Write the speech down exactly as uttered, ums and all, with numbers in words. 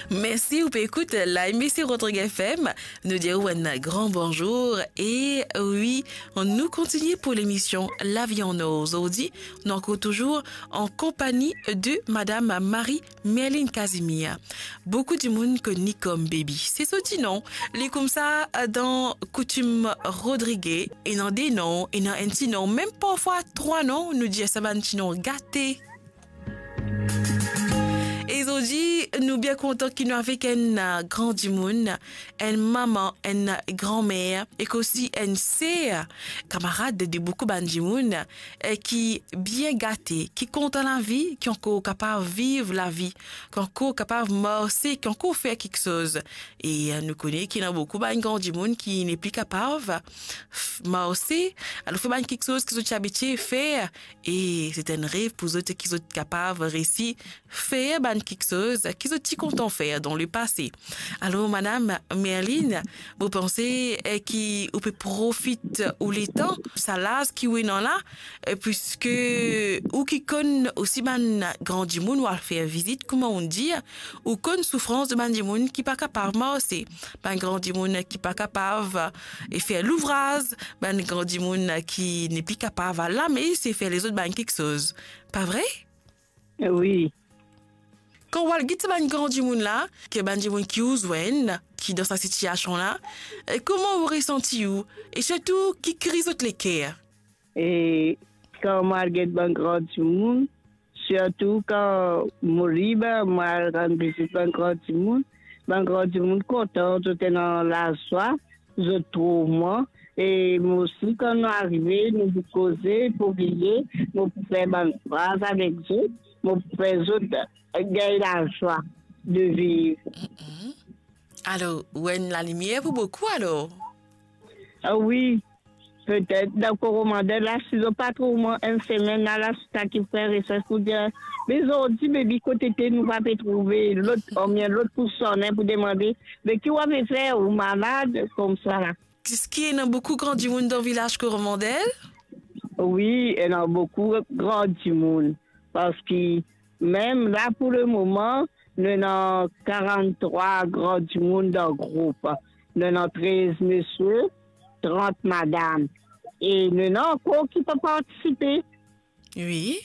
Mersi, ou pe ekout Live Mesi Rodrig F M. Nou dir ou enn gran bonzour. E wi, nou kontinie pou lemision Lavi an Or. Zordi, nou ankor touzour an konpagni de Madam Marie Merline Casimir. Boukou dimoun konn li kom Baby. Se so ti non. Li koumsa dan koutim Rodrige. Ena de non, ena enn ti non, mem parfwa trwa non, nou dir sa bann ti non gate. E zordi, nou bien kontan ki nou avek enn, eh, gran dimoun, enn mama, enn granmer, ek osi enn ser, kamarad de boukou bann dimoun, eh, ki bien gate, ki kontan lavi, ki ankor kapav viv lavi, ki ankor kapav marse, ki ankor fer kiksoz. E, eh, nou kone ki ena boukou bann gran dimoun ki nepli kapav f-, marse, alor fer bann kiksoz ki zot ti abitie fer, e se enn rev pou zot ki zot kapav resi fer bann kiksoz ki zot ti kontan fer dan lepase. Alor, Madam Merline, mo panse, eh, ki ou pe profit ou letan, sa laz ki ou ena la, eh, puiske ou ki konn osi bann gran dimoun ou al fer vizit, kouma ou dir, ou konn soufrans de bann dimoun ki pa kapav marse, bann gran dimoun ki pa kapav, eh, fer louvraz, bann gran dimoun ki nepli kapav al lames e fer lezot bann kiksoz. Pa vre? Wi. Kan ou al get sa bann gran dimoun la, ki bann dimoun ki ou zwenn, ki dan sa sitiasion la, eh, kouma ou resanti ou? E sirtou, ki kri zot leker? E kan mo al get bann gran dimoun, sirtou kan mo lib, mo al rann vizit bann gran dimoun, bann gran dimoun kontan, zot ena lazwa, zot trouv mwa. E mo osi, kan nou arive, nou pou koze, pou riye, mo pou fer bann fraz avek zot, mo pou fer zot gagn lazwa de viv. Mm-mm. Alor, ou enn lalimier pou boukou, alor? Ah wi, petet dan Koromandel la, si zot pa trouv mwa enn semenn la, la, sa ki fer resers pou dir, "Me zordi, Baby, kot ete, nou pa pe trouve." Lot, oubien lot pou sone pou demande, "Me ki ou ave fer, ou malad?" Koumsa la. Eski ena boukou gran dimoun dan vilaz Koromandel? Wi, ena boukou gran dimoun. Parski mem la, pou lemoman, nou ena karant-trwa gran dimoun dan group. Nou ena trez misie, trant madam. E nou ena ankor ki pa partisipe. Wi.